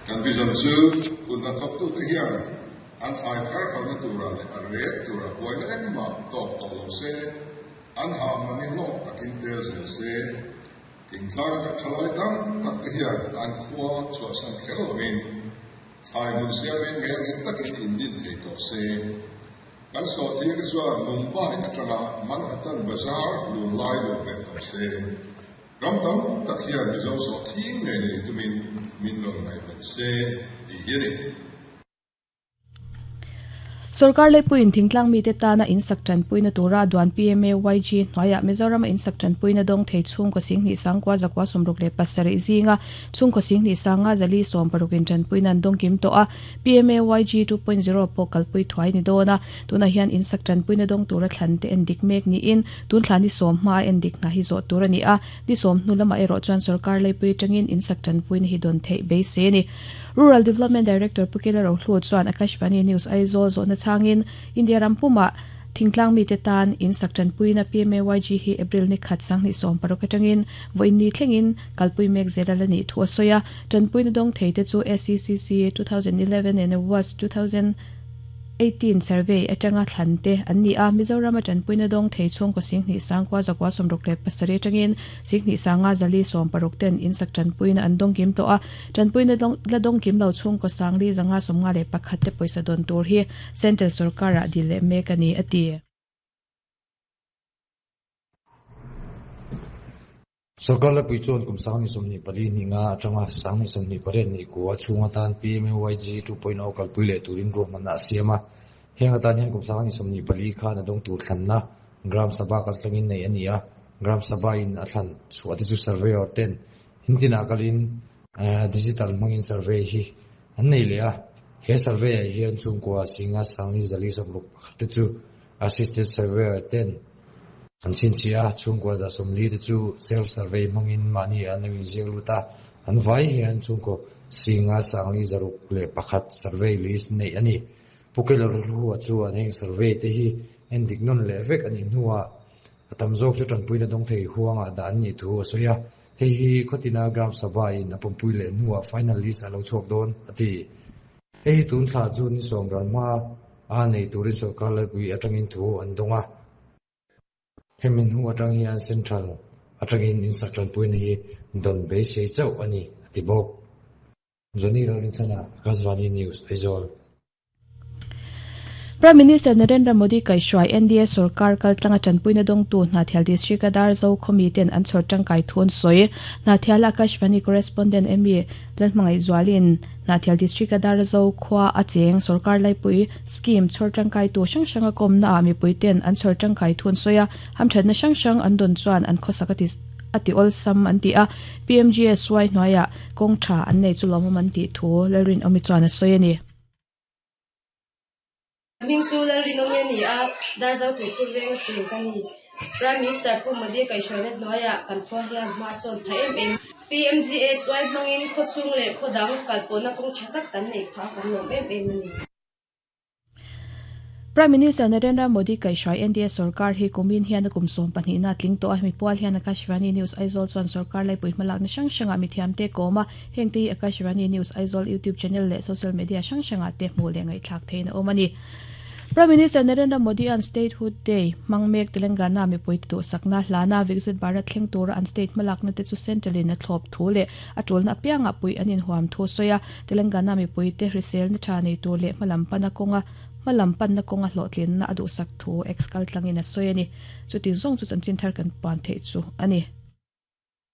Kan vision chu kut hnathawktute hian an thlai thar hralhna turah leh a rep turah buaina engmah tawk tawh lo se, an hah mahni hlawk takin tel zel se. Thingtlang kan thalai tam tak te hian an khua chhuahsan kher lovin thlai hmun siamin ngelnghet takin indin thei tawh se. Kan sawhthing te chuan Mumbai atanga Manhattan bazar lunlai luah ve tawh se. Ram tam tak hian Mizo sawhthing ngei nei tumin min rawn ngaihven se tih hi a ni. Sorkar leipuiin thingtlang mite tana insak tanpuina tura duan PMAYG hnuaiah Mizorama insak tanpuina dawng thei chhungkaw singhnih sangkua zakua 67 zinga chhungkaw singhnih sanga zali sawmparukin tanpuina an dawng kim tawh a, PMAYG 2.0 pawh kalpui thuai ni dawn a, tunah hian insak tanpuina dawng tura thlan te endik mek niin tun thla ni sawm hmaa endik hna hi zawh tur a ni a, ni sawm hnu lamah erawh chuan sorkar leipui atangin insak tanpuina hi dawn theih beisei a ni. Rural Development Director Pu Kela Rohlu chuan Akashvani News Aizawl zawhna chhangin India ram pumah thingtlang mite tan in sak tanpuina PMAYG hi April ni khat 2016 atangin vawiin ni thlengin kalpui mek zel a la nih thu a sawi a. Tanpuina dawng thei te chu SECC 2011 and was 2000 18 survey atanga thlan te an ni a, Mizorama tanpuina dawng thei chhungkaw 10,000 sangkua zakua 67 atangin 10,000 sanga zali 60 ten in sak tanpuina an dawng kim tawh a. Tanpuina la dawng kim lo chhungkaw sangli zanga 51 te pawisa dawn tur hi Central sorkarah dil leh mek a ni, a ti. Sorkar lepui chuan kum 2024 ni nga atanga 2028 ni kua chhung atan PMAYG 2.0 kalpui leh turin ruahmanna a siam a. Heng atan hian kum 2024 khan a dawng tur thlanna Gram Sabha kaltlangin nei a ni a, Gram Sabha in a thlan chhuah te chu surveyor ten In tinah kalin digital hmangin survey hi an nei leh a, he survey ah hian chhungkua singa sangli zali 61 te chu assisted surveyor ten an chhinchhiah a, chhungkua 140 te chu self survey hmangin mahni an lo inziak lut a, an vai hian chhungkaw singa sangli 601 survey list neih a ni. Pu Keller Hluhua chuan heng survey te hi endik nawn leh vek a nih hnuah A tam zawk chu tanpuina dawng thei huangah dah an nih thu a sawi a, hei hi khawtina Gram Sabha in a pawmpui leh hnuah final list a lo chhuak dawn, a ti. Hei hi tun thla chu ni sawm ral hma a nei turin sorkar laipui atangin thu an dawng a. Hemi hnu atang hian Central atangin insak tanpuina hi dawn beisei chauh a ni, a ti bawk. Johnny Lalrinchhana, Akashvani News, Aizawl. Prime Minister Narendra Modi kaihhruai NDA sorkar kaltlanga tanpuina dawngtu Hnahthial District a Darzo khawmi ten an chhawr tangkai thu an sawi. Hnahthial Akashvani Correspondent Amy Lalhmangaihzualin Hnahthial District a Darzo khua a cheng sorkar laipui scheme chhawr tangkaitu hrang hrang a kawmna ah mipui ten an chhawr tangkai thu an sawi a, hamthatna hrang hrang an dawn chuan an khawsak a ti a ti awlsam an ti a, PMGSY hnuaiah kawng tha an nei chu lawmawm an tih thu Lalrinawmi chuan a sawi a ni. Hming chu Lalrinawmi a ni a, Darzo Tuikhur venga cheng ka ni. Prime Minister Pu Modi kaihhruaina hnuaiah kan khua hian hma a sawn phah em em. PMGSY hmangin khawchhung leh khaw dang kalpawhna kawng tha tak kan neih phah a kan lawm em em a ni. Prime Minister Narendra Modi kaihhruai NDA sorkar hi kumin hian a kum 12 na a tling tawh a, hemi pual hian Akashvani News Aizawl chuan sorkar laipui hmalakna hrang hrangah mithiamte kawm a, hengte hi Akashvani News Aizawl YouTube channel leh social media hrang hrangah te hmuh leh ngaihthlak theihin a awm a ni. Prime Minister Narendra Modi-a'n Statehood Day hmang mek Telangana mipuite duhsakna hlana Viksit Bharat thleng tura an state hmalakna te chu Central-in a thlawp thu leh a tulna apiangah puih an inhuam thu a sawi a, Telangana mipuite hriselna tha nei tur leh hmalam pana kawnga hmalam panna kawnga hlawhtlinna a duhsak thu X kaltlangin a sawi a ni. Chuti zawng chu chanchin thar kan puan theih chu a ni.